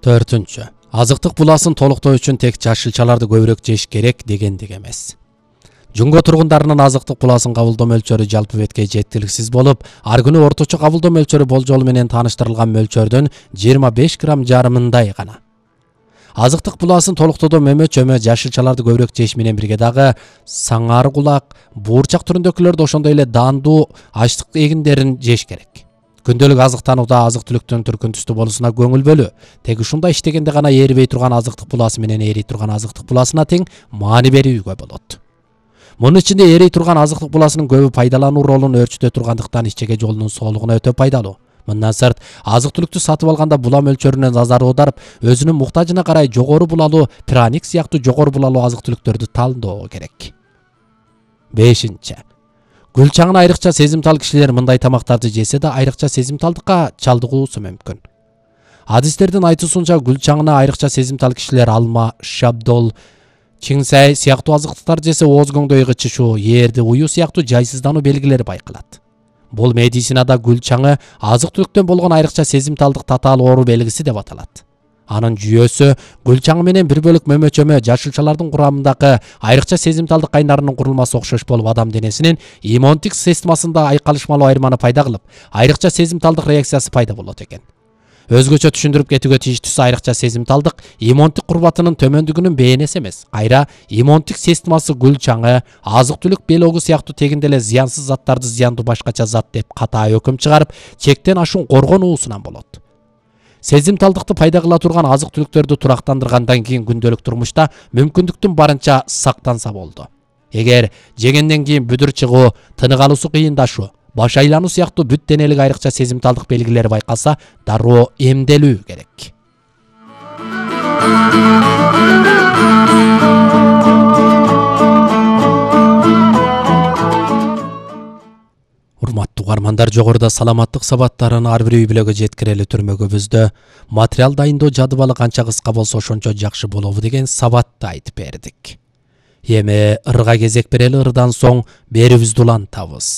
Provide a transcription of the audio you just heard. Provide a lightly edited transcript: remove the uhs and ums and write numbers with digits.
4. Азыктык буласын толуктоо үчүн тек жашылчаларды көбүрөөк жеш керек дегендик эмес. Жунго тургундарынын азыктык буласын кабылдоо мөлчөрү жалпы бетке жеткиликсиз болуп, ар күнү орточо кабылдоо мөлчөрү болжолу менен тааныштырылган мөлчөрдөн 25 грамм жарымындай гана. Азыктык буласын толуктоодо мөмө-чөмө, жашылчаларды көбүрөөк жеш менен бирге дагы саңар кулак, буурчак түрүндөгүлөрдү ошондой эле даандуу ачтык эгиндерин жеш керек. Күндөлүк азыктанууда азык-түлүктүн түркүн түстүү болуусуна көңүл бөлүү. Тек ушундай иштегенде гана эрибей турган азыктык буласы менен эрий турган азыктык буласына тең маани берүүгө болот. Мунун ичинде эрий турган азыктык буласынын көбү пайдалануу ролун өөрчүтө тургандыктан ичеге жолунун соолугуна өтө пайдалуу. Мындан сырт, азык-түлүктү сатып алганда була мөлчөрүнө назар аударып, өзүнүн муктажына карай жогору булалуу праник сыяктуу жогору булалуу азык-түлүктөрдү тандоо керек. 5. Гүл чаңына айрыкча сезимтал кишилер мындай тамактарды жесе да айрыкча сезимталдыкка чалдыгуусу мүмкүн. Адистердин айтуусунча гүл чаңына айрыкча сезимтал кишилер алма, шабдол, чиңсай сыяктуу азыктыктарды жесе ооз көңдөй кычышуу, ээрди уюу сыяктуу жайсыздануу белгилери байкалат. Бул медицинада гүл чаңы азык-түлүктөн болгон айрыкча сезимталдык татаал оору белгиси деп аталат. Анын жүйөсү гүл чаңы менен бир бөлүк мөмө-чөмө жашылчалардын курамындагы айрыкча сезимталдык кайнарынын курулмасы окшош болуп, адам денесинин иммундук системасында айкалышмалуу айырманы пайда кылып, айрыкча сезимталдык реакциясы пайда болот экен. Өзгөчө түшүндүрүп кетүүгө тийиштүүсү айрыкча сезимталдык иммундук курбатынын төмөндүгүнүн бээринеси эмес, кайра иммундук системасы гүл чаңы, азык-түлүк белогу сыяктуу тегинде эле зыянсыз заттарды зыяндуу башкача зат деп катаа өкүм чыгарып, чектен ашуун коргонуусунан болот. Сезимталдыкты пайда кыла турган азык-түлүктөрдү турактандыргандан кийин күндөлүк турмушта мүмкүндүктүн барынча сактанса болду. Эгер жегенден кийин бүдүр чыгуу, тынык алуусу кыйындашуу, баш айлануу сыяктуу бүт денелик айрыкча сезимталдык белгилери байкалса, дароо эмделүү керек. Урматтуу угармандар, жогоруда саламаттык сабаттарын ар бир үй бүлөгө жеткирели түрмөгүбүздө материал дайындоо жадыбалы канча кыска болсо ошончо жакшы болобу деген сабатты айтып бердик. Эми ырга кезек берели, ырдан соң берүүбүздү улантабыз.